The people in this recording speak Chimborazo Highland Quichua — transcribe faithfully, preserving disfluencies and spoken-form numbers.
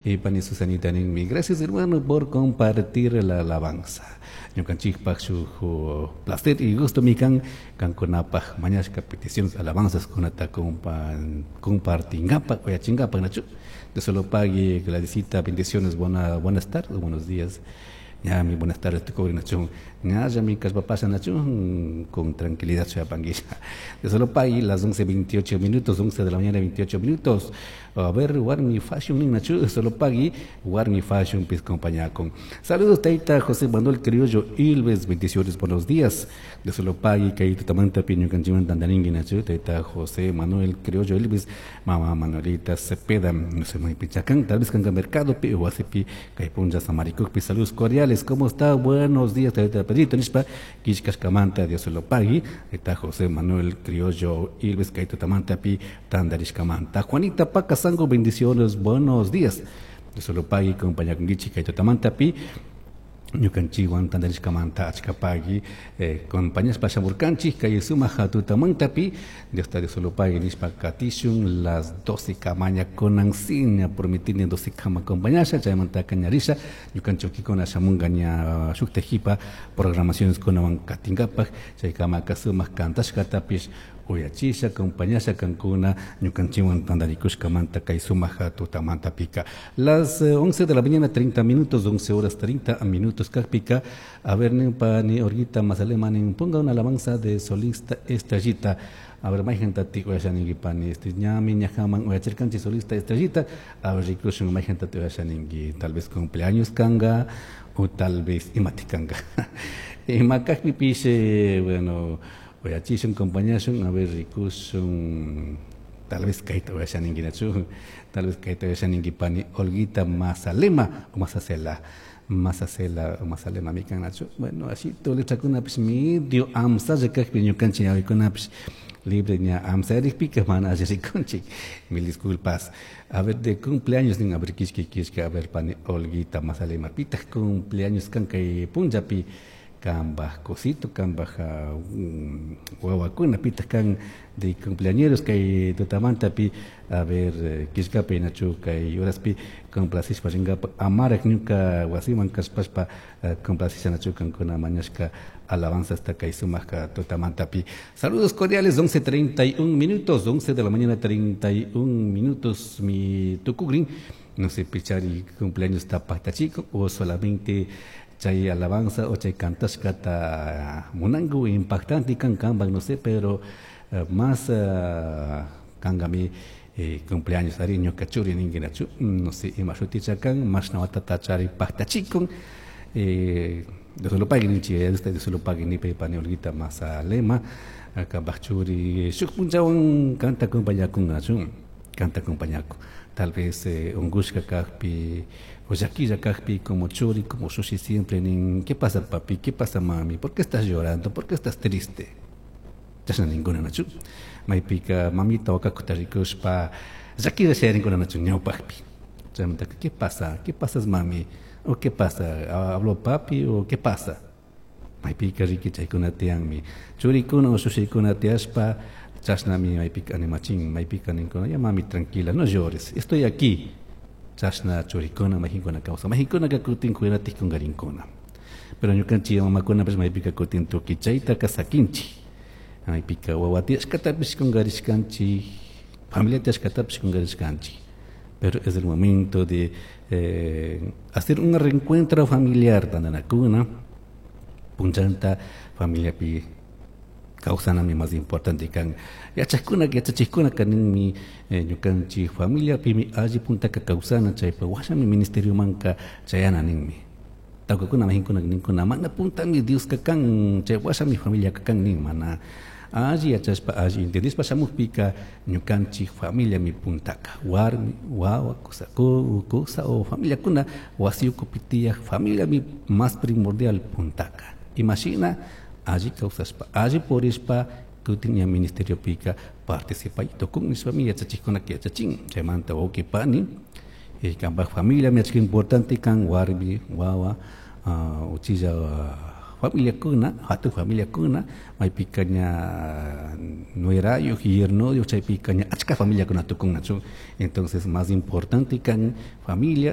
Y pani Susanita ninmi, gracias, hermano, por compartir la alabanza. Ñukanchikpaj shuk placer y gusto mi kan kankunapaj mañashka peticiones, alabanzas kunata compartingapak, uyachingapak, nachu. Dios lo pague, Gladysita, bendiciones, buena, buenas tardes, buenos días. Ya, mi buenas tardes, tu coordinación. Ya, ya mi pasa nachu, con tranquilidad, panguilla. Dios lo pague, las once veintiocho minutos, once de la mañana, veintiocho minutos. A ver, Warmi Fashion, nachu, solo pagui, Warmi Fashion, pis compañía con. Saludos, Taita José Manuel Criollo Ilves, bendiciones, buenos días. Dios lo pague, kay tutamanta pi ñukanchikwan tantarinki, nachu, Taita José Manuel Criollo Ilves, mama Manuelita Cepeda, no sé, muy pichacán, tal vez canga mercado, pi, huasipi, kay puncha samaricukpi, saludos cordiales, ¿cómo está? Buenos días, Taita Pedrito, nishpa, kishkashkamanta, Dios lo pague, Taita José Manuel Criollo Ilves, kay tutamanta pi, tantarishkamanta. Juanita Paca Sango, bendiciones, buenos días. Dios lo pague, compañía con Gichi, kay tutamanta pi, ñukanchikwan tantarishkamanta achkapagui eh, compañías pashamurkanchik kay sumaq tutamantapi. Dios ta Dios lo pague nishpa katishun las doce kamaña kunan ña prometini doce kama compañasha chaymanta kañarisha ñukanchikuna shamunga ña shukta jipa programaciones kunawan katinkapak chaykama sumaq kantashkatapish uyachisha compañasha kankuna ñukanchikwan tantarikushkamanta kay sumaq tutamanta pika. Las once de la mañana treinta minutos, once horas treinta minutos kakpika. A ver, pani Olguita Mazalema nin, ponga una alabanza de solista Estrellita. A ver, mayqantati uyashaninki, pani? Este ñami ñajaman uyachirkanchik solista Estrellita. A ver, rikushun mayqantati uyashaninki, tal vez cumpleaños kanga o tal vez imati kanga. Ima kakpipish, bueno, uyachishun, compañashun. A ver, rikushun, tal vez kayta uyashaninki, nachu? Tal vez kayta uyashaninki, pani Olguita Mazalema o Mazacela, Mazacela o Mazalema mikan, nachu? Bueno, así letrakunapish medio amsalla kakpi ñukanchik ñawikunapish libre ña amsarikpika mana alli rikunchik, mil disculpas. A ver, de cumpleaños nin. A ver, kishki kishki. A ver, pani Olguita Mazalema, pitaq cumpleaños kan kay punllapi? Kambaj cosito, kambaj um, wawakuna, pitaq kan de cumpleañeros kay tutamantapi? A ver, kishkapi, nachu? Kay horaspi complacishpa rinkapak amarak ñuka wasiman kashpashpa complacisha, nachu, kankuna mañashka alabanza hasta kay sumaq tutamantapi. Saludos cordiales, once treinta y un minutos, once de la mañana treinta y un minutos mi tukugrin. No sé pichari cumpleaños tapaktachico o solamente chay alabanza o chay kantashkata munanku, impactante kan kanpak, no sé, pero uh, más uh, kankami eh, cumpleaños ari ñuka churi ninki, nachu? No sé ima shuticha kan, mashna watata chari paktachikun. eh, Dios lo pague ninchi, Dios lo pague nipa pani Olguita Mazalema, kampak churi shuk punchawan kanta acompañakun, nachu? Kanta acompañakun, tal vez eh, ungushka kakpi o llakilla kakpi, como churi, como shushi siempre nin: "¿Qué pasa, papi? ¿Qué pasa, mami? ¿Por qué estás llorando? ¿Por qué estás triste?" Chashna ninkuna, nachu? Maypika mamita wakakuta rikushpa llakilla shayarinkuna, nachu, ñawpakpi? Chaymantaka: "¿Qué pasa? ¿Qué pasa, mami? ¿O qué pasa? ¿Habló papi o qué pasa?" Maypika riki chaykuna tiyanmi churikuna o shushikuna tiyashpa chashnami maypika animachin, maypika ninkuna: "Ya, mami, tranquila, no llores, estoy aquí." Chashna churikuna mayqinkuna kawsan, mayqinkunaka kutin cuidatik kunkarinkuna, pero ñukanchik mamakunapish maypika kutin tukuy chaytaka sakinchik. Maypika wawa tiyashkatapish kunkarishkanchik, familia tiyashkatapish kunkarishkanchik, pero es el momento de eh, hacer un reencuentro familiar, tantanakuna punchanta familiapi kawsanami más importante kan. Yachakuna, yachachikuna kaninmi eh, ñukanchik familiapimi alli puntaka kawsana, chaypa washami ministeriomanka chayana ninmi. Tawkakuna majinkuna ninkuna: "Mana, puntami Dioska kan, chay washami familiaka kan" nin. Mana alli yachashpa, alli entendishpa shamukpika ñukanchik familiami puntaka, warmi, wawa, kusa, kusa o familiakuna wasi ukupi tiyak familiami más primordial puntaka. Imashina alli kawsashpa, alli purishpa kutin ña ministeriopika participay tukun nishpami yachachikkunaka yachachin. Chaymanta, wawqi pani, eh, kampak familia achka importante kan, warmi, wawa, uh, uchilla. Familiakuna, hatun familiakuna, maypika ña nuerayuk, yernoyuk, chaypika ña achka familiakuna tukunnachu. Entonces más importante kan familia.